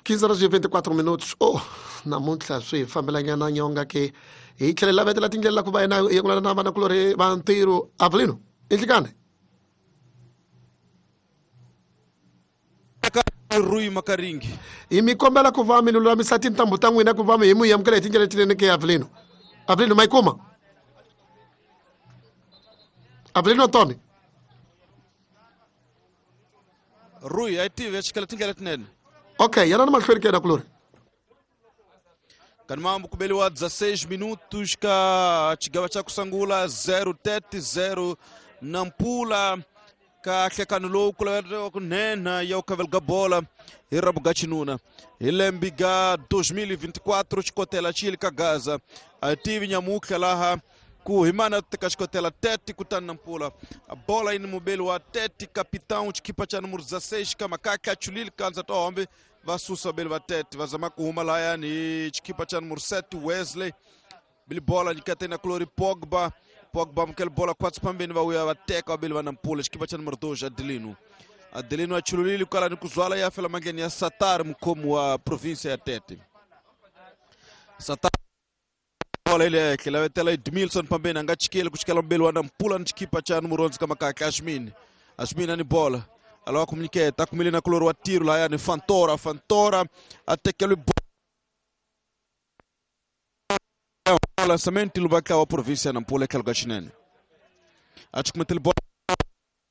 15 horas e 24 minutos. Oh, namuntlha swi hi fambelanyana nyonga ke hi tlhela hi lavetela tindlela ku va yena hi yengulana na vanakulorhi va ntirho Avelino i nhlikani. Rui Makaringi. Hi mi kombela ku va mi lulamisa tintambu ta n'wina ku va mi hi mi amukela hi tindlela letinene ke Avelino. Avelino ma yi kuma? Avelino Antoni. Rui a yi tivi ya chikela tindlela letinene. Okay, yana na mahlweni ke nakulorhi. Kani mambo kubeliwa 16 minutos ka chigava cha kusangula 0 tete 0 Nampula ka hlekano lowu ku laveriwa ku nhenha ya ku khavelga bola hi rabu ga xinuna hi lembe ga 2024 xikotela xi yile ka Gaza a tivi nyamutlha laha ku hi mana teka xikotela tete kutani Nampula bola yi ni mubeli wa tete capitão xikhipa cha numero 16 ka makaka chulile kanza tohombe va susa vabeli va tete va zama ku huma lahayani hi xikhipa cha numero 7 Wesley bili bola nyikete na kulori Pogba Pogba amukela bola khwatsi phambeni va vuya va teka vabeli va Nampula xikhipa cha numero 2 Adelino Adelino a chululile kwala ni ku zwala ya fela mandleni ya Satar mukhomi wa province ya Tete Satar bola ile ehenhla lavetela Edmilson phambeni a nga chikeli ku chikela mubeli wa Nampula ni xikhipa cha numero 11 ka makaka Ashmin Ashmin ani bola alava ku nyiketa a kumile na kulori wa tiro lahayani Fantora Fantora a tekeliwe lançamento lubatla wa província ya Nampula etlhelo ka xinene a cukumetele bola